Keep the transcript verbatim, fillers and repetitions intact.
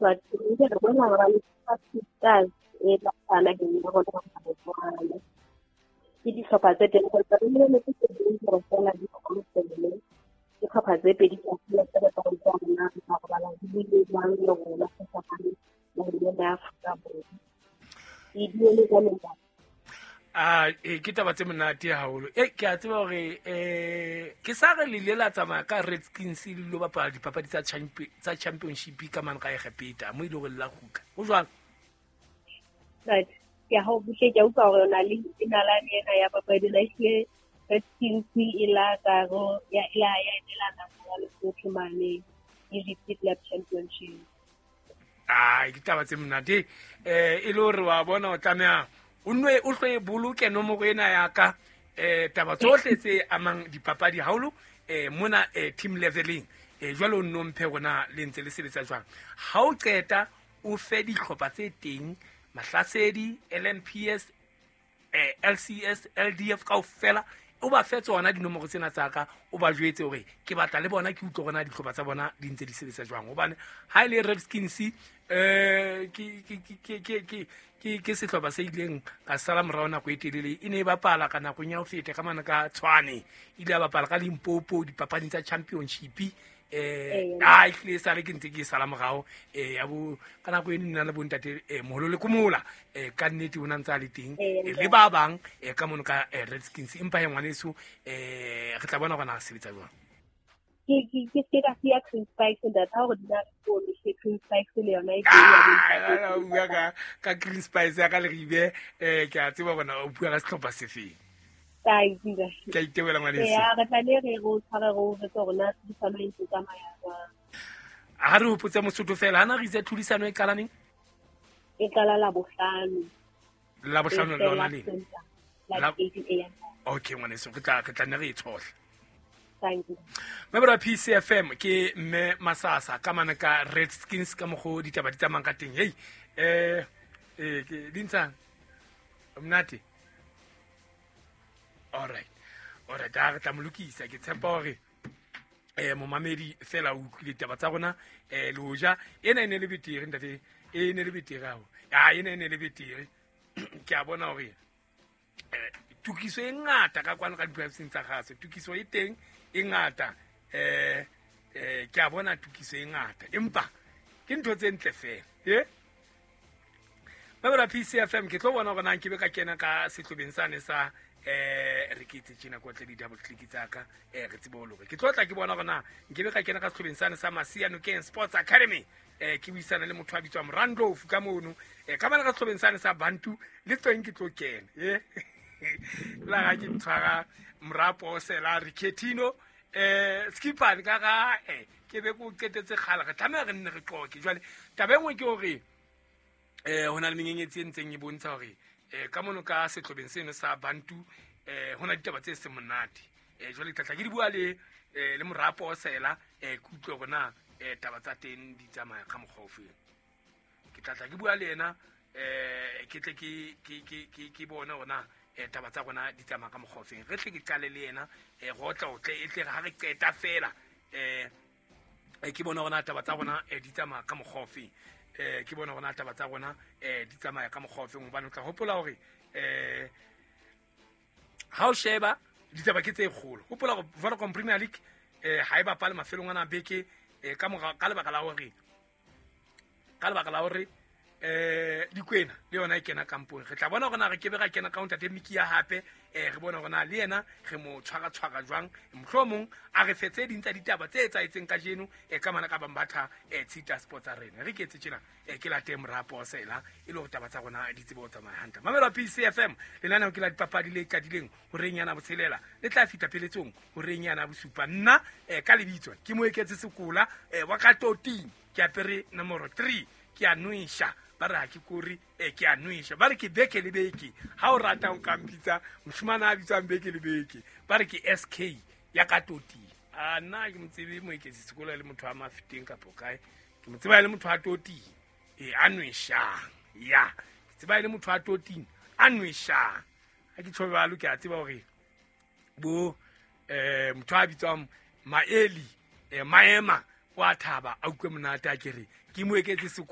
Re bona ba le Stars e tla naheng ya rona Botswana. Ke dihlopha tse teng re lebeletse tse ding hore feela di kgone dihlopha tse pedi kaofela tse re tla rona re tla robala di buile jwang le rona sefapane naheng ena ya Afrika Borwa. Ke duele jwalo ntate. A e ke taba tse monate haholo. E ke a tseba hore eh ke sa re le ile la tsamaya ka Redskins le lo bapala dipapadi tsa champion tsa championship ka mane ka Egepeta mo ile hore le la kgutla. Ho jwang? Right. Ke ha o buhle ke a utlwa hore o na le nalane ena ya papadi ena ehlile Redskins e la karo ya e la ya emela naha ya Lesotho mane Egypt Club Championship. Ah, ke taba tse monate. Eh e le hore wa bona o tlameha o nwe o hloe boloke nomoro ena ya ka eh taba tsohle tse amang dipapadi haholo eh mona eh, team leveling eh jwale o nno mphe rona le ntse le sebetsa jwang. Ha o qeta o fe dihlopha tse teng Mahlasedi, L M P S, eh, L C S, L D F kaofela o ba fe tsona dinomoro tsena tsa ka o ba jwetse hore ke batla le bona ke utlwe rona dihlopha tsa bona di ntse di sebetsa jwang. Hobane ha e le Redskins eh ke ke ke ke ke ke ke sehlopha se ileng ka sala morao nako e telele e ne e bapala ka nakong ya ho feta ka mane ka Tshwane ile ya bapala ka Limpopo dipapading tsa championship eh a ehlile sale ke ntse ke sala morao eh ya bo ka nako e nna le bontate eh moholo le komola eh ka nnete o na ntse a le teng le ba bang eh ka mono ka Redskins empa he ngwaneso eh re tla bona hore na sebetsa jwang. Ke ke ke ke ka sia Green Spikes ntate ha hore di na le ke Green Spikes le yona e teng ya bua ka ka Green Spikes ya ka Leribe eh ke a tseba bona o bua ka sehlopha sefeng. Ke a itebela ngwaneso. Ya re tla le re go tshware go re tsona tlhodisano e ntse tsamaya jwang. Ha re hopotse Mosotho fela hana re itse tlhodisano e qala neng? E qala la bohlano. La bohlano lona le. La eight A M. Okay ngwaneso re tla re tla ne re e tshohle. Thank you. Member P C F M ke mme Masasa ka mane ka Redskins ka mokgo ditaba di tsamayang ka teng. Hey eh eh ke dintshang. Monate. All right. All right, a re tla mo lokisa ke tshepa hore eh momamedi fela o utlwile ditaba tsa rona eh le hoja ena e ne le betere ntate e ne le betere hao. Ah ena e ne le betere ke a bona hore eh tukiso e ngata ka kwano ka diprofenseng tsa gase tukiso e teng e ngata eh eh ke a bona tukiso e ngata empa ke ntho tse ntle fela eh Babara P C F M ke tlo bona hore na ke be ka kena ka sehlobeng sane sa eh re ke itse tjena ko tle di double click tsa ka eh re tsebe ho loka ke tlo tla ke bona hore na nke be ka kena ka sehlobeng sane sa Masia Nokeng Sports Academy eh ke buisana le motho a bitswang Randolph ka mono eh ka bana ka sehlobeng sane sa Bantu le teng ke tlo kena eh la ga ke tshwara morapo sela re Ketino eh skipane ka ga eh ke be go qetetse kgala re tlameha re nne re qoke jwale taba e nngwe ke hore eh hona le menyenyetsi e ntseng e bontsha hore eh ka mono ka sehlobeng seno sa Bantu eh hona ditaba tse se monate eh jwale ke tla ke di bua le le morapo sela eh ke utlwe hore na eh taba tsa teng di tsamaya ka mokgwa ofe ke tla tla ke bua le yena eh ke tle ke ke ke ke bone hore na eh taba tsa rona di tsamaya ka mokgwa ofe re tle ke qale le yena eh go tla o tle e tle ha re qeta fela eh ke bona hore na taba tsa rona di tsamaya ka mokgwa ofe eh ke bona hore na taba tsa rona eh di tsamaya ka mokgwa ofe hobane o tla hopola hore eh ha o sheba ditaba ke tse kgolo hopola hore Vodacom Premier League eh ha e bapale mafelong ana beke eh ka mora ka lebaka la hore ka lebaka la hore eh Dikwena le yona e kena kampong re tla bona hore na re kebe ra kena ka ntate Mikia hape eh re bona hore na le yena re mo tshwara tshwara jwang mohlomong a re fetse ding tsa ditaba tse etsahetseng kajeno eh ka mana ka Bambatha eh Tshita Sports Arena re ke etse tjena eh ke late morapo sela e le hore taba tsa rona di tsebe ho tsamaya hantle. Mamelo P C F M lenaneo ke la dipapadi le qadileng horeng yana botshelela le tla fihla pheletsong horeng yana bosupa nna eh ka lebitso ke Moeketse Sekola eh wa ka toting ke apere nomoro three ke a nwesha ba re ha ke kore eh ke a nwesha ba re ke beke le beke ha o rata o ka mpitsa moshimana a bitswang beke le beke ba re ke S K ya ka toting a nna ke motsebe Moeketse Sekola le motho a mafiteng kapo kae ke motseba le motho a toting e a nweshang ya ke tseba le motho a toting a nweshang ha ke tjho jwalo ke a tseba hore bo eh motho a bitswang Maeli eh Maema Wa thaba, a utlwe monate, a kere ke mo eketse sekolo.